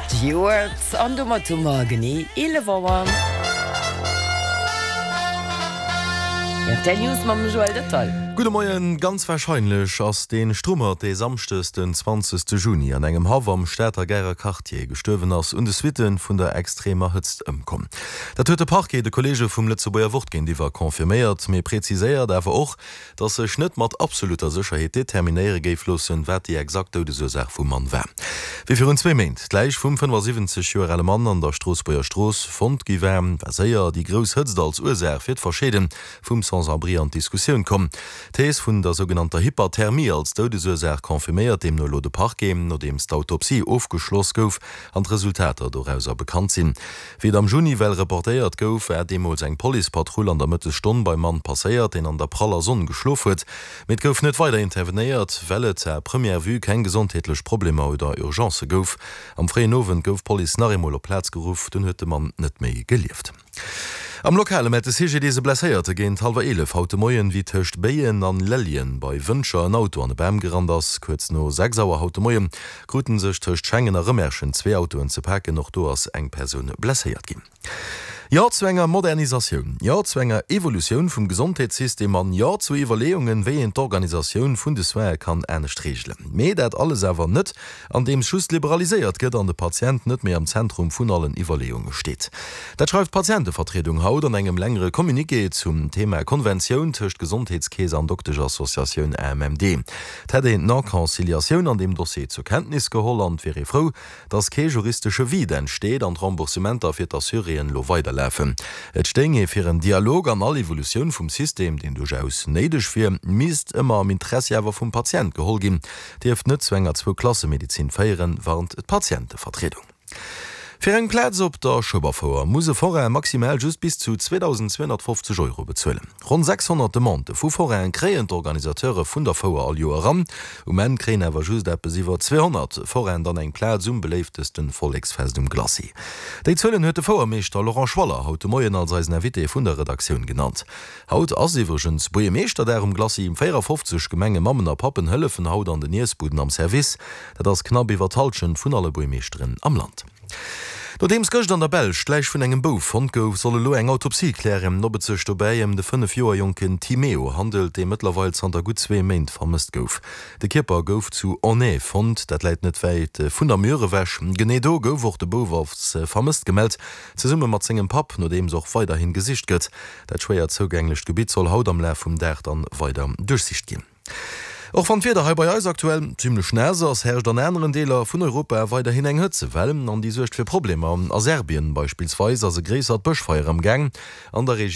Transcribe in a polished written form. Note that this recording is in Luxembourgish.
Stewart an domat hu mer genee 11 Auer. Rtl News mam Joël Detail. Gudde Moien. Ganz warscheinlech ass dee Strummert, dee Samschdes den 20 Juni an engem Haff am Stater Garer Quartier gestuerwen ass, un de Suitte vun der extremer Hëtzt ëmkomm. Dat huet de Parquet de Kolleege vum Lëtzebuerger Wort géintiwwer confirméiert, mee präziséiert awer och, datt sech net mat absolutter Sécherheet determinéiere géif loossen, wat déi exakt Doudesursaach vum Mann war. Wéi virun zwee Méint d'Läich vum 75 Joer ale Mann an der Stroossbuerger Strooss fonnt gi war, war séier déi grouss Hëtzt als Ursaach fir d'Verscheede vum Sans-abri an d'Diskussioun komm. D'Thees vun der sougenannter Hyperthermie als Doudesursaach confirméiert deemno elo de Parquet, nodeems d'Autopsie ofgeschloss gouf an d'Resultater dorauser bekannt sinn. Wéi et am Juni well reportéiert gouf, war deemools eng Policepatrull an der Mëttesstonn beim Mann passéiert, deen an der praller Sonn geschlof huet. Mee et gouf net weider intervenéiert, well et à première vue keng gesondheetlech Problemer oder Urgencë gouf. Am fréien Owend gouf d'Police nach eemol op d'Plaz geruff, dunn huet de Mann net méi gelieft. Am Lokale mellt de CGDIS e Blesséierte géint hallwer 11 haut de Moien, wéi tëscht Béien an Lellien bei Wëntger en Auto an e Bam gerannt ass. Kuerz no 6 Auer haut de Moie kruten sech tëscht Schengen a Rëmerschen zwee Autoen ze paken. Och do ass eng Persoun blesséiert ginn. Jo zu enger Modernisatioun, Jo zu enger Evolutioun vum Gesondheetssystem an Jo zu Iwwerleeungen, wéi een d'Organisatioun vun de Soine kann anescht reegelen. Mee dat alles awer net, andeems just liberaliséiert gëtt an de Patient net méi am Zentrum vun allen Iwwerleeunge steet. Dat schreift d'Patientevertriedung haut an engem längere Communiqué zum Thema Konventioun tëscht Gesondheetskeess an Dokteschassociatioun AMMD. Et hätt een d'Non-Conciliatioun an deem Dossier zur Kenntnis geholl an et wier ee frou, datt kee juristesche Vide entsteet an d'Remboursementer fir d'Assuréen elo weiderlafen. Et stéing ee fir en Dialog an all Evolutioun vum System, deen duerchaus néideg wier, misst ëmmer am Interessi awer vum Patient geholl ginn, dierft net zu enger Zwou-Klasse-Medezin féieren, warnt d'Patientevertriedung. Fir eng Plaz op der Schueberfouer muss e Forain maximal just bis zu 2.250 Euro bezuelen. Ronn 600 Demandë vu Forainen kréien d'Organisateure vun der Fouer all Joer eran. Um Enn kréien awer just eppes iwwer 200 Forainen dann eng Plaz um beléiftesten Volleksfest um Glacis. Déi Zuelen huet de Fouermeeschter Laurent Schwaller haut de Moien als eisen Invité vun der Redaktioun genannt. Haut ass iwwregens Buergermeeschterdag um Glacis. 54 Gemengemammen a Pappen hëllefen haut an den Iessbuden am Service. Dat ass knapp iwwer d'Hallschent vun alle Buergermeeschteren am Land. Nodeems gëscht an der Belsch d'Läich vun engem Bouf fonnt gouf, soll elo eng Autopsie klären, ob et sech dobäi ëm de 5 Joer jonken Timeo handelt, dee mëttlerweil zanter gutt zwee Méint vermësst gouf. De Kierper gouf zu Aunay fonnt, dat läit net wäit vun der Mur ewech. Genee do gouf och de Bouf als vermësst gemellt, zesumme mat sengem Papp, nodeems och weiderhin gesicht gëtt. Dat schwéier zougänglecht Gebitt soll haut am Laf vum Dag dann weider duerchsicht ginn. Och wann d'Wieder hei bei eis aktuell zimmlech naass ass, herrscht an aneren Deeler vun Europa weiderhin eng Hëtzewell an déi suergt fir Problemer. A Serbien beispillsweis ass e gréissert Bëschfeier am Gaang. An der Regioun.